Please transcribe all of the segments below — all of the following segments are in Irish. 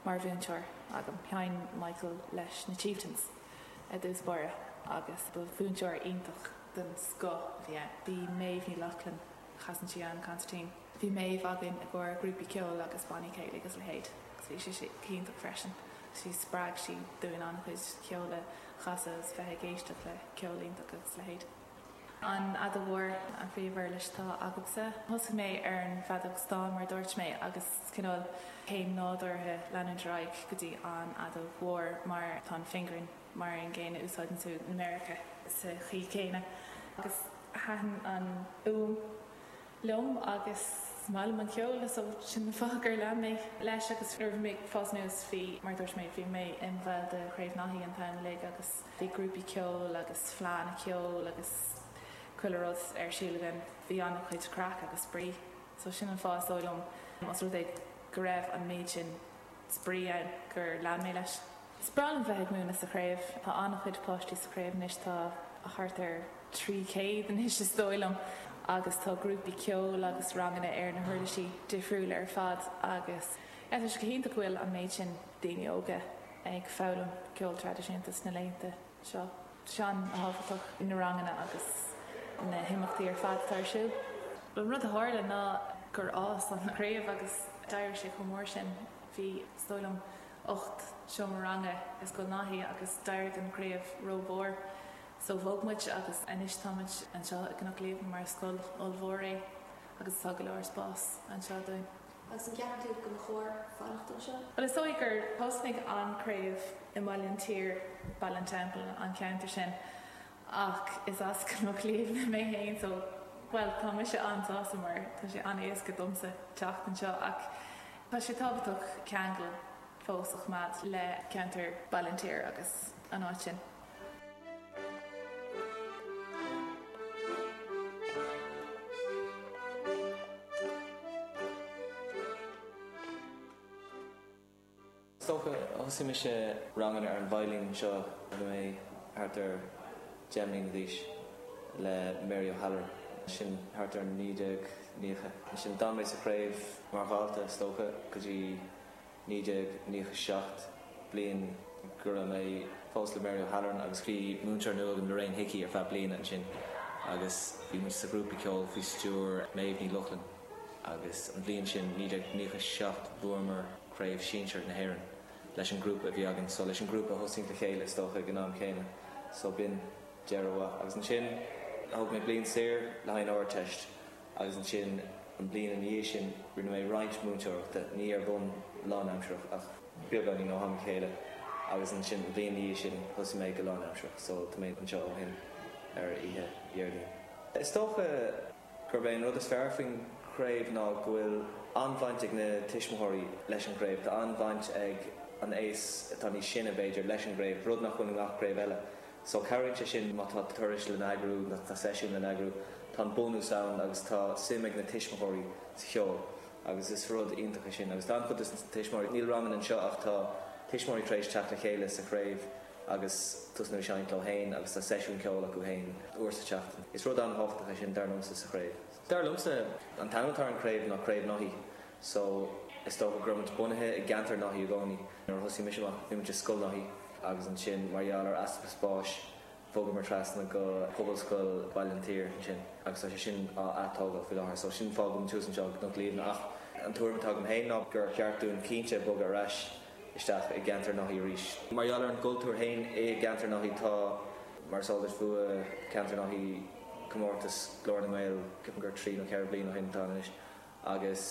mar mhúinteoir agam. Sheinn Michael leis na Chieftains i dtús báire agus ba mhúinteoir iontach den scoth a bhí ann. Bhí Méabh Ní Lochlainn, chasann sí an consairtín, bhí Méabh againn i gcomhair grúpaí ceoil agus bannaí céilí agus a leithéid agus bhí sí go hiontach freisin. Bhí spreag sí dúinn an-chuid ceoil a chasadh agus bheith ag éisteacht le ceol iontach agus a leithéid. An fheadóg mhór an phríomhuirlis atá agamsa. Thosaigh mé ar an bhfeadóg stáin mar a dúirt mé agus cineál céim nádúrtha leanúint ar aghaidh go dtí an fheadóg mhór mar tá an fingering mar an gcéanna úsáideann tú na méaracha sa chaoi chéanna agus thaitin an fhuaim liom agus is maith liom an ceol so sin an fáth gur lean mé leis agus nuair a bhí mé ag fás anuas bhí, mar a dúirt mé, bhí mé im bhall de Chraobh Naithí an t-am uilig agus bhí grúpaí ceoil agus fleánna ceoil agus chuile rud ar siúl againn. Bhí an-chuid craic agus spraoi so sin an fáth is dóigh liom, os rud é go raibh an méid sin spraoi ann gur lean mé leis. Is breá liom bheith ag múineadh sa chraobh. Tá an-chuid páistí sa chraobh anois, tá thart ar 300 anois is dóigh liom agus tá grúpaí ceoil agus ranganna ar na huirlisí difriúla ar fad agus yeah tá sé go hiontach go bhfuil an méid sin daoine óga ag foghlaim ceol traidisiúnta sna laethanta seo. Tá sé an-tábhachtach na ranganna agus na himeachtaí ar fad atá ar siúl. An rud a tharla ná gur fhás an chraobh agus d'éirigh sé chomh mór sin. Bhí, is dóigh liom, 8 seomra ranga i Scoil Naithí agus d'éirigh an chraobh rómhór so bhog muid agus anois tá muid anseo i gCnoc Liamhna mar is scoil ollmhór é agus tá go leor spás anseo dúinn. Agus an gceapann tú go mba chóir fanacht anseo? Bhuel is dóigh gur thosnaigh an chraobh i mBaile an tSaoir, Baile an Teampaill, an ceantar sin ach is as Cnoc Liamhna mé féin so bhuel tá mise an-sásta mar tá sé an-éasca domsa teacht anseo ach Tá sé tábhachtach ceangal fós a choimeád le ceantar Baile an tSaoir agus an áit sin. Is dócha, thosaigh mise ranganna ar an veidhlín anseo nuair a bhí mé thart ar 10 mbliana d'aois le Mary O'Halloran, sin thart ar 1990. Ansin d'fhan mé sa chraobh mar dhalta is dócha go dtí 1997, bliain go raibh mé fós le Mary O'Halloran agus bhí múinteoir nua agam Lorraine Hickey ar feadh bliana ansin agus bhí muid sa ghrúpa ceoil faoi stiúir Méabh Ní Lochlainn agus an bhliain sin, 1997, bhuamar Craobh Sinsir na hÉireann. leis an ngrúpa a bhí againn so leis an ngrúpa a thosaigh le chéile is dócha ag an am chéanna so b'in deireadh mhaith. Agus ansin thóg mé bliain saor le haghaidh an Ardteist agus ansin an bliain ina dhiaidh sin rinne mé roinnt múinteoireachta, ní ar bhonn lánaimsearach ach beagáinín ó am go chéile agus ansin an bhliain ina dhiaidh sin thosaigh mé go lánaimsearach so tá mé anseo ó shin ar oíche Dhéardaoin. Is dócha. gurb é an rud is fearr faoin chraobh ná go bhfuil an-bhaint ag na tuismitheoirí leis an gcraobh. Tá an-bhaint ag an aos atá níos sine, b'fhéidir, leis an gcraobh, rud nach bhfuil i ngach craobh eile. So cabhraíonn sé sin má tá turais le n-eagrú, má tá seisiúin le n-eagrú, tá an bunús ann agus tá suim ag na tuismitheoirí sa cheol agus is rud iontach é sin. Agus tá an-chuid de na tuismitheoirí, níl ranganna anseo ach tá tuismitheoirí tar éis teacht le chéile sa chraobh, agus tosnú ag seinnt leo féin agus tá seisiún ceoil acu féin uair sa tseachtain. Is rud an-thábhachtach é sin dar liomsa sa chraobh. Dar liomsa an t-ainm atá ar an chraobh ná Craobh Naithí so is dócha go raibh muid bunaithe i gceantar Naithí i gcónaí. Nuair a thosaigh mise amach bhí muid i Scoil Naithí agus ansin mar gheall ar easpa spáis bhogamar trasna go Pobalscoil Bhaile an tSaoir ansin agus tá sé sin á atógáil faoi láthair so sin an fáth go bhfuil muid thuas anseo i gCnoc Liamhna ach an tuairim atá agam féin ná gur cheart dúinn cinnte bogadh ar ais isteach i gceantar Naithí arís. Mar gheall ar an gcultúr féin i gceantar Naithí tá, mar is eol duit, bhuaigh ceantar Naithí comórtas Glór na nGael, ceapaim gur trí nó ceithre bliana ó shin atá ann anois, agus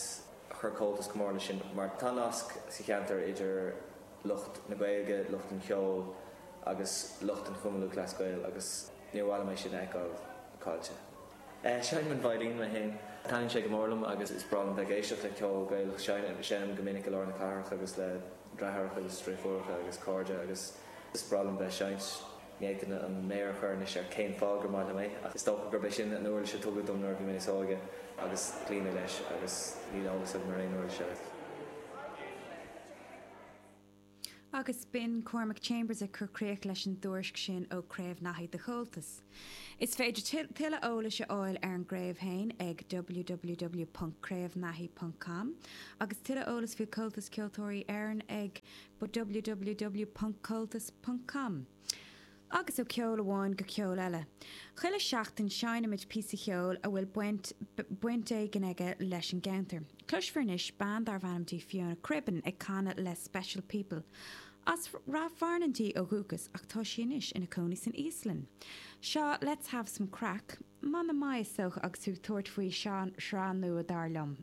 chuir Comhaltas go mór leis sin mar tá nasc sa cheantar idir lucht na Gaeilge, lucht an cheoil agus lucht an Chumann Lúthchleas Gael agus níor mhaith liom é sin a fheiceáil caillte. Seinnim an veidhlín mé féin. Taitníonn sé go mór liom agus is breá liom bheith ag éisteacht le ceol Gaelach. Seinnim go minic i lár na cathrach agus le deartháireacha agus deirfiúracha agus cairde agus is breá liom bheith ag seinnt. Ní fhéadfainn an méar a chur anois ar cén fáth gur maith liom é ach is dócha gurb é sin an uirlis a tugadh dom nuair a bhí mé níos óige agus chloígh mé leis agus níl eolas agam ar aon uirlis eile. Agus b'in Cormac Chambers ag cur críoch leis an dtuairisc sin ó Craobh Naithí do Chomhaltas. Is féidir tuilleadh eolais a fháil ar an gcraobh féin ag www.craobhnaithi.com agus tuilleadh eolais faoi Comhaltas Ceoltóirí Éireann ag www.comhaltas.com. Agus ó cheol amháin go ceol eile. Chuile sheachtain seinnimid píosa cheoil a bhfuil baint baint éigin aige leis an gceantar. Cloisfear anois bean darbh ainm di Fiona Cribbin ag canadh le Special People. As Rath Fearnáin di ó dhúchas ach tá sí anois ina cónaí san Íoslainn. Seo Let's Have Some Craic, mana maith is dócha agus tú ag tabhairt faoi shraith nua dar liom.